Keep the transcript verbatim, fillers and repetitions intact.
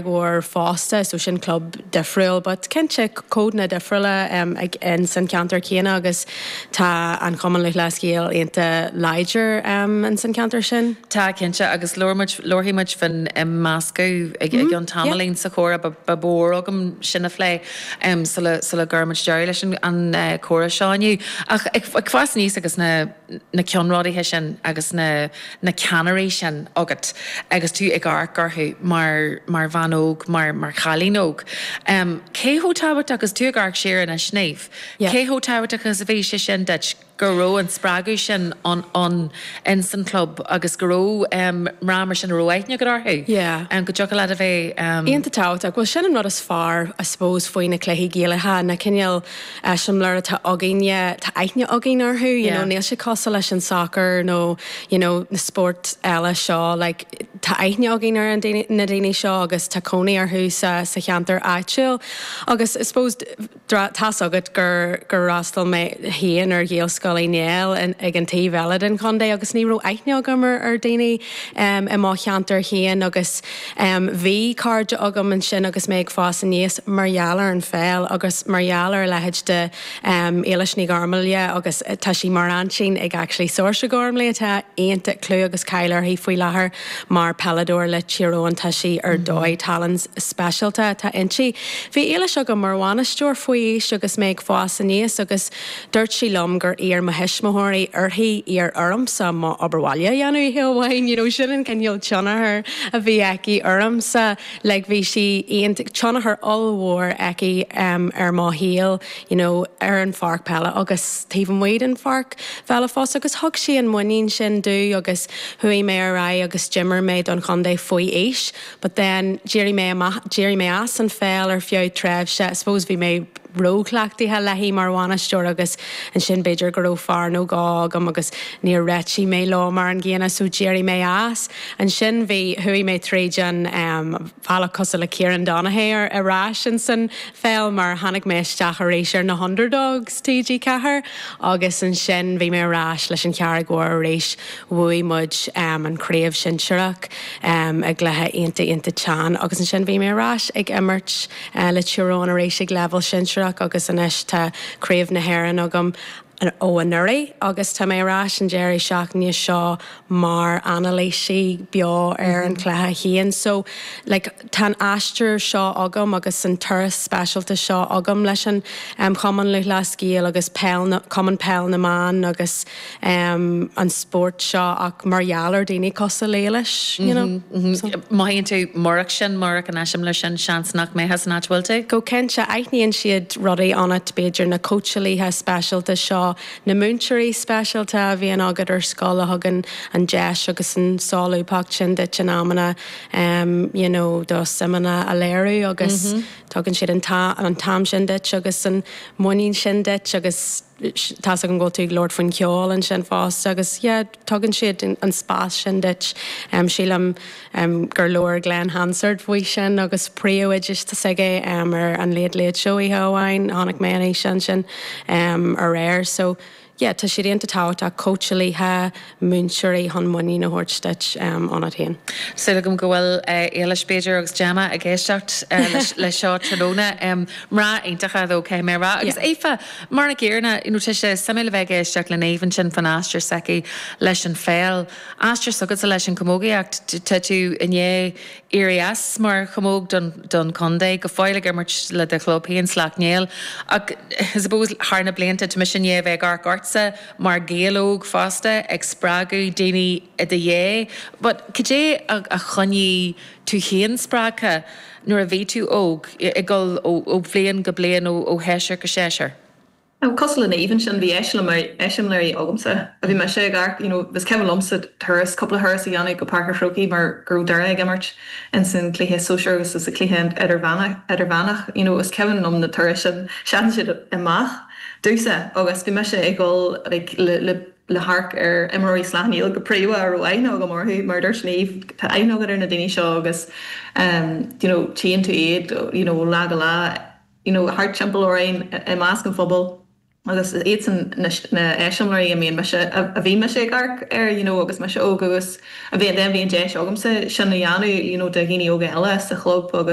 Mhór fosta so sin club difriúil, but cinnte codanna difriúla um, ag in san ceantar céanna agus tá an Cumann Lúthchleas Gael iontach láidir um, in san ceantar sin. Tá cinnte agus labharfaidh muid faoin imeascadh ag mm -hmm. an tamaillín sa chomhrá ba mhór agam sin a phlé um, sula sula gcuirimid deireadh leis an, an uh, comhrá seo inniu. Ach ag, ag fás aníos agus na, na ceannródaithe sin agus na, na ceannairí sin agat agus tú ag amharc orthu mar, mar bhean óg mar, mar chailín óg. Um, cé chomh tábhachtach agus tú ag amharc siar anois Niamh? Yeah. Cé chomh tábhachtach agus a bhí sé sin duit go raibh an spreagadh sin an an in san club agus go raibh um, mná mar sin a raibh aithne agat orthu. Yeah. Um, go dtiocfadh leat a bheith um, Iontach tábhachtach, well sin an rud is fearr I suppose faoi na cluichí Gaelacha na cineál eiseamláir atá againne tá aithne againn orthu, you Yeah. know, níl sé cosúil leis an soccer nó you know, na spórt eile seo, like, tá aithne againn ar an daoine- na daoine seo agus tá cónaí orthu sa, sa cheantar áitiúil. Agus I suppose tá's agat gur gur fhreastail mé féin ar Ghaelscoil Uí Néill ag an taobh eile den chontae agus ní raibh aithne agam ar ar daoine um, i mo cheantar féin agus um, bhí cairde agam ansin agus mé ag fás aníos mar gheall ar an pheil agus mar gheall ar leithéid de um, Éilis Ní Ghormlaithe agus tá sí mar aintín ag actually Saoirse Gormley atá iontach clú agus cáil uirthi faoi láthair mar peileadóir le Tír Eoghain tá sí ar dóigh tallann speisialta atá inti. Bhí Éilis agam mar bhainisteoir faoi aois agus mé ag fás aníos agus dúirt sí liom gur iarr mo thuismitheoirí uirthi iarraidh ormsa mo obair bhaile a dhéanamh amháin, you know, sin an cineál tionchar a bhí aici ormsa le bhí sí tionchar ollmhór aici um, ar mo shaol you know, ar an pháirc peile agus taobh amuigh den pháirc pheile fosta agus thug sí an muinín sin domh agus chuaigh mé ar aghaidh agus d'imir mé don chontae faoi aois, but then d'éirigh mé d'éirigh mé as an pheil ar feadh tréimhse, I suppose bhí mé róchleachtaithe léi mar bhainisteoir agus ansin b'fhéidir go raibh fear nó dhó agam agus níor réitigh mé leo mar an gcéanna so d'éirigh mé as. Ansin bhí chuaigh mé tríd an um, bhealach cosúil le Kieran Donaghy ar ar ais in san pheil mar tháinig mé isteach arís ar na Underdogs TG Ceathair agus ansin bhí mé ar ais leis an Charraig Mhór arís bhuaigh muid um, an craobh sinsearach um, ag cluiche iontach iontach teann agus ansin bhí mé ar ais ag imirt uh, le Tír Eoghain arís ag leibhéal sinsearach agus anois tá craobh na hÉireann agam ó anuraidh agus tá mé ar ais an deireadh seachtaine seo mar anailísí beo ar an chluiche féin. So like, tá an aistear seo agam agus an turas speisialta seo agam leis an um, Chumann Lúthchleas Gael agus peil na, Cumann Peil na mBan agus um, an spórt seo ach mar gheall ar daoine cosúil le Éilis, you know. Mm -hmm. so. Mothaíonn tú murach sin murach an eiseamláir sin seans nach mbeifeá san áit bhfuil tú? Go cinnte aithníonn siad rudaí ionat b'fhéidir na cóitseálaithe speisialta seo na múinteoirí speisialta a bhíonn agat ar scoil a thugann an deis agus an solúbthacht sin duit in amanna um, you know, do suimeanna a léiriú agus mm -hmm. tugann siad an an t-am sin duit agus an muinín sin duit agus tá an go tú labhairt faoin cheol ansin fosta agus yeah, tugann siad an spás sin duit um, sílim um, gur labhair Glen Hansard faoi sin agus príomhoide s'aige um, ar an Late Late Show amháin tháinig mé an sin sin um, aréir so yeah, tá siad iontach tábhachtach cóitseálaithe múinteoirí chun muinín a thabhairt duit um, ionat féin. Súil agam go bhfuil Éilis b'fhéidir agus Gemma ag éisteacht le seo tráthnóna mná iontacha dó cé mé rá. Agus Aoife mar a chéanna tá sé suimiúil a bheith ag éisteacht le Niamh sin faoin aistear s'aici leis an pheil. Aistear s'agatsa leis an chamógaíocht tá tú i ndiaidh éirí as mar chamóg don, don chontae go fóill ag imirt le do chlub féin Sleacht Néill ach suppose thar na blianta tá mise i ndiaidh bheith ag amharc ortsa mar Ghael óg fosta ag spreagadh daoine i do dhiaidh, but cad é a, a choinnigh tú féin spreagtha nuair a bhí tú óg ag dul ó bhliain go bliain ó ó sheisear go seisear. Cosúil le Niamh sin bhí eiseamláirí agamsa a bhí me sé gar you know, bhí cuimhin liomsa turas cúpla thuras a dhéanamh go Páirc an Chrócaigh mar go raibh Doire ag imirt in san cluiche sóisear agus sa cluiche idirmheánach idirmheánach you know, is cuimhin liom na turais sin seasann siad amach domhsa agus bhí mise ag dul like, le, le le hamharc ar imreoirí Shleacht Néill go príomha a raibh aithne agam orthu mar dúirt Niamh tá aithne agat ar na daoine seo agus um, you know, tchíonn tú iad you know, lá go lá you know, thart timpeall orainn i measc an phobail agus iad san na heiseamláirí a mbíonn mise a bhí mise ag amharc air you know agus mise óg agus a bhí den bhí an deis agamsa sin a dhéanamh you know do dhaoine óga eile sa chlub agus